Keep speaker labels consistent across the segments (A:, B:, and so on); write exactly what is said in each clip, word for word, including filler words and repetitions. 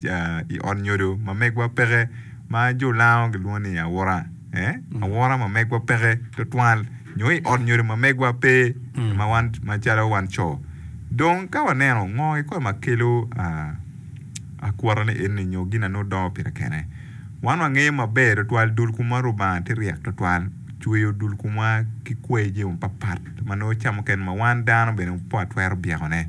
A: I ot nyodo ma megwa peke ma jo lango gilwongo ni awura awura ma megwa peke tutwal nyo i ot nyodo ma megwa pe ma wan macalo wan co dong ka waneno ngo kikome ma kelo akwota ni eni nyo gin na nongo dongo pire kene wan wangeyo maber tutwal dul komwa Rubanga tye ryek tutwal cweyo dul komwa ki kwayi jami mapapat ma nongo ca mukene ma wan dano bene pe watwero byekone.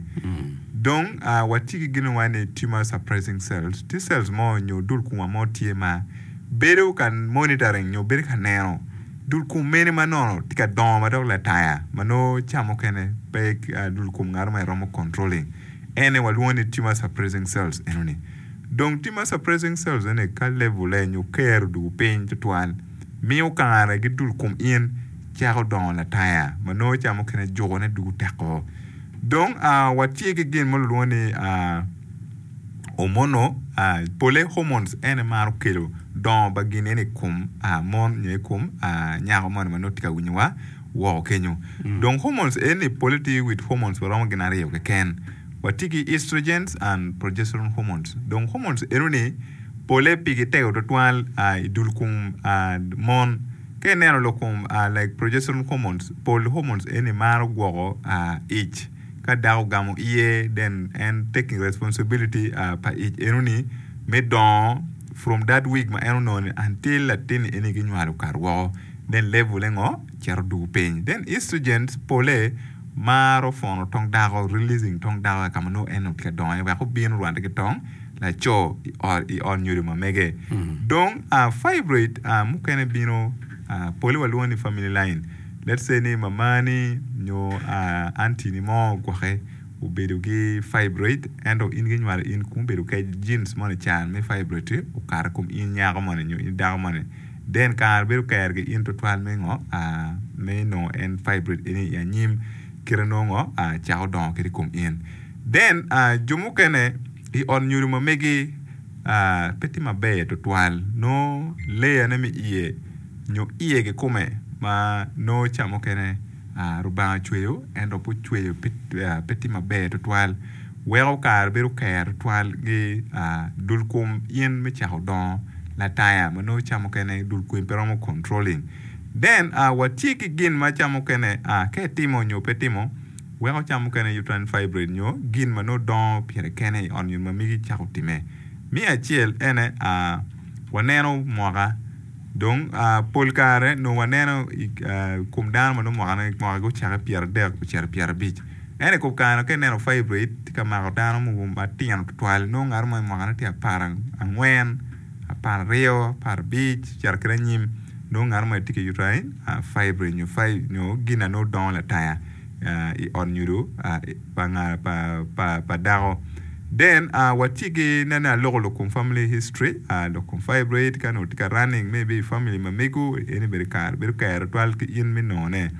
A: Dong watye ki gin ma ni tumor suppressing cells, tye cells mo nyo dul komwa mo tye ma bedo ka monitoring nyo bedo ka neno dul kom mene ma nono tye ka dongo ma dok lataya ma nongo ca mukene pe dul kom ngat mo romo controlling ene walwongo ni tumor suppressing cells enoni. Dong tumor suppressing cells eni ka level nyo kero odwogo piny tutwal miyo kare ki dul kom in cako dongo lataya ma nongo ca mukene jukone dwogo teko. Dong watye ki gin ma lwongo ni hormonal, pole hormones en aye maro kelo dongo pa gin eni i kom mon nyo i kom nyako moni ma nongo tye ka winyowa woko kenyo. Dong hormones eni pole tye with hormones maromo gin aryo keken. Watye ki estrogens and progesterone hormones. Dong hormones enoni pole pigi tego tutwal i dul kom mon. Ka ineno lok kom like progesterone hormones, pol hormones eni maro gwoko ic. Ka dako ogamo iye then en taking responsibility pa ic enoni me dongo from that week ma en onongo ni until latin eni ginywalo okato woko then level-le ngo cito dugo piny. Then estrogens pole maro pwono tong dako releasing tong dako ka ma nongo en tye ka dongo iye wek obin orwatte ki tong laco i ot nyodo ma mege. Dong fibroid mukene bino pole walwongo ni family line let's say ni mamani nyo aunty-ni mo ogwoke obedo ki fibroid ento in ginywalo in kun obedo kec genes moni can me fibroid-ti okato i kom in nyako moni nyo in dako moni then kare bedo ker ki in tutwal me ngo me nongo en fibroid eni i anyim kite nongo cako dongo kede i kom in. Then jo mukene i ot nyodo ma megi pe tye maber tutwal nongo layerne me iye nyo iye kikome ma nongo ca mukene Rubanga ocweyo ento pe ocweyo pe tye maber tutwal weko kare bedo ker tutwal ki dul kom in me cako dongo lataya ma nongo ca mukene dul komi pe romo controlling. Then watye ki gin ma ca mukene ka itimo nyo pe itimo weko ca mukene uterine fibroid nyo gin ma nongo dongo pire kene i ot nyo ma megi cako time. Me acel ene waneno mwaka dong pol kare nongo waneno i kom dano ma nongo mwakane mwakagi ocake pyeradek ocito pyerabic ento i kom kare ka ineno fibroid tye ka mako dano mogo matino tutwal nongo ngat mo mwakane tye apar angwen apar aryo apar abic ocito kwede anyim nongo ngat mo tye ki uterine fibroid nyo gin na nongo dongo lataya i ot nyodo pa dako. Then watye ki nene aloko lok kom family history lok kom fibroid ka onongo tye ka running maybe i family ma mego eni bedo kare bedo ker tutwal ki in me nongone.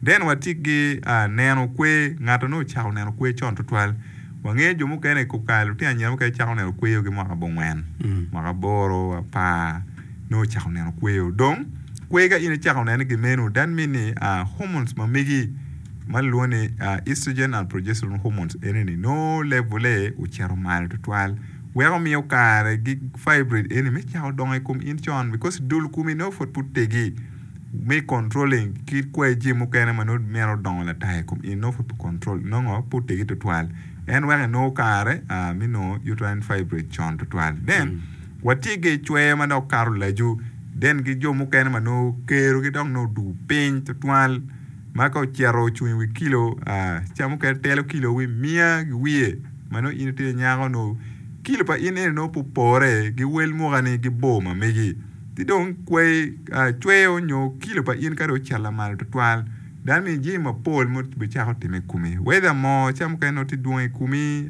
A: Then watye ki neno kwer ngat onongo ocako neno kwer con tutwal wangeyo jo mukene i kom kare lutino anyira mukene cako neno kweyo ki mwaka abongwen mwaka aboro apar nongo ocako neno kweyo dong kwer ka in icako nene ki meno that mean ni hormones ma megi ma lwongo ni estrogen and progesterone hormones eni nongo level-le ocito malo tutwal weko miyo kare ki fibroid eni me cako dongo i kom in con because dul komi nongo pud pe otegi me controlling ki kwayi jami mukene ma nongo mito dongo lataya i kom in nongo pud pe control nongo pe otegi tutwal en weko inongo kare me nongo uterine fibroid con tutwal then watye ki cwer ma dok kato lacu then ki jo mukene ma nongo kerogi dok nongo odugo piny tutwal ma ka ocito ocung i wi kilo ca mukene telo kilo wi miya ki wiye ma nongo in itye nyako nongo kilo pa in eni nongo pe opore ki wel mukani ki bor ma megi ci dong kwai cweyo nyo kilo pa in ka dong ocito lamal tutwal that means jami mapol ma obicako time i komi whether moo ca mukene nongo tye dwong i komi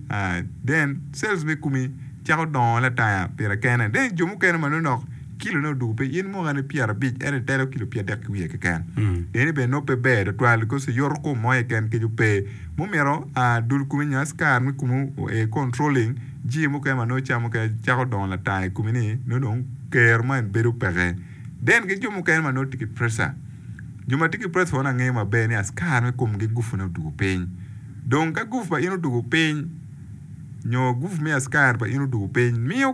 A: then cells me komi cako dongo lataya pire kene then jo mukene ma nongo dok kilone odwogo piny in mwakane pyerabic ento itelo kilo pyeradek ki wiye keken eni bene nongo pe ber tutwal because yoto kom mo keken kec ope mumito dul komi nyo askar me komi oe controlling jami mukene ma nongo ca mukene cako dongo lataya i komi ni nongo dong kero ma en bedo peke then ki jo mukene ma nongo tye ki pressure jo ma tye ki pressure wan angeyo maber ni askar me komgi gufune odwogo piny dong ka gufu pa in odwogo piny nyo gupu me askari pa in odwogo piny miyo